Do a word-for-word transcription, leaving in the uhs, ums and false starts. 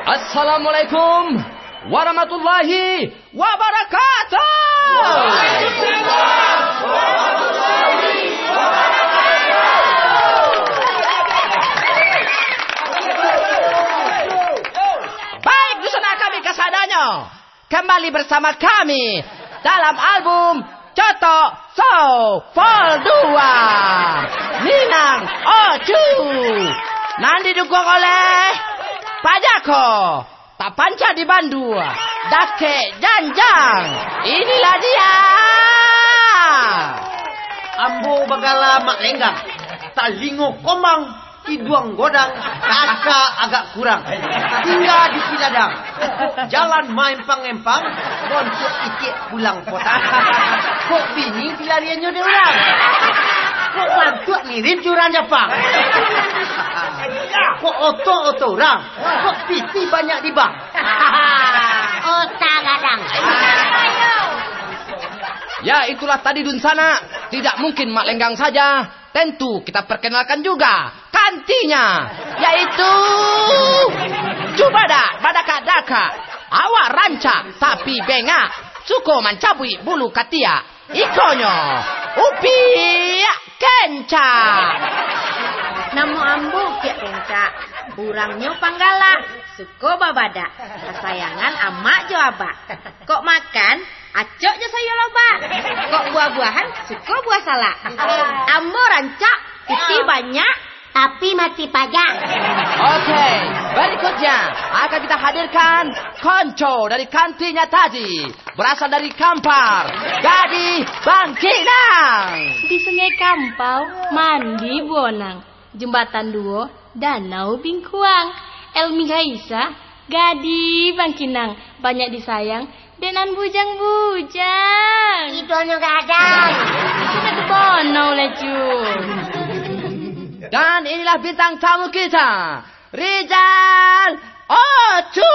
Assalamualaikum warahmatullahi wabarakatuh. Baik, dunsanak kami kasadonyo, kembali bersama kami dalam album Cotok Show Vol dua, Minang Ocu, nan didukung oleh Pajako, tapanca di Bandua, Dakek Janjang. Inilah dia. Ambo bagala Mak Lenggang, talingo komang, iduang godang, kaka agak kurang. Tingga di Ciladang, jalan maempang-empang, bontuak ikek pulang kota. Kok bini pilariannyo dek urang? Kok bantuak mirip jo urang Japang? Kok oto-oto urang? Kok piti banyak di bank? Otak gadang. Ya, itulah tadi, dunsanak. Tidak mungkin Mak Lenggang saja. Tentu kita perkenalkan juga kantinyo, yaitu Cubadak Badakak-dakak, awak rancak tapi bengak, suko mancabuik bulu katiak. Ikonyo Upiak Kencak. Namo ambo Upiak Kencak. Urangnyo panggalak, suko babadak. Kasayangan amak jo abak. Kok makan, acok jo sayua lobak. Kok buah-buahan, suko buah salak. Ambo rancak, piti banyak, tapi mati pajak. Oke, berikutnya akan kita hadirkan konco dari kantinyo tadi. Berasal dari Kampar, Gadih Bangkinang. Di Sungai Kampau, mandi buonang. Jembatan Duo, Danau Bingkuang. Elmi Gaisa, Gadih Bangkinang. Banyak disayang dek nan bujang-bujang. Idonyo gadang. Sudah tu bonau lah, Cu. Dan inilah bintang tamu kita, Rizal Ocu.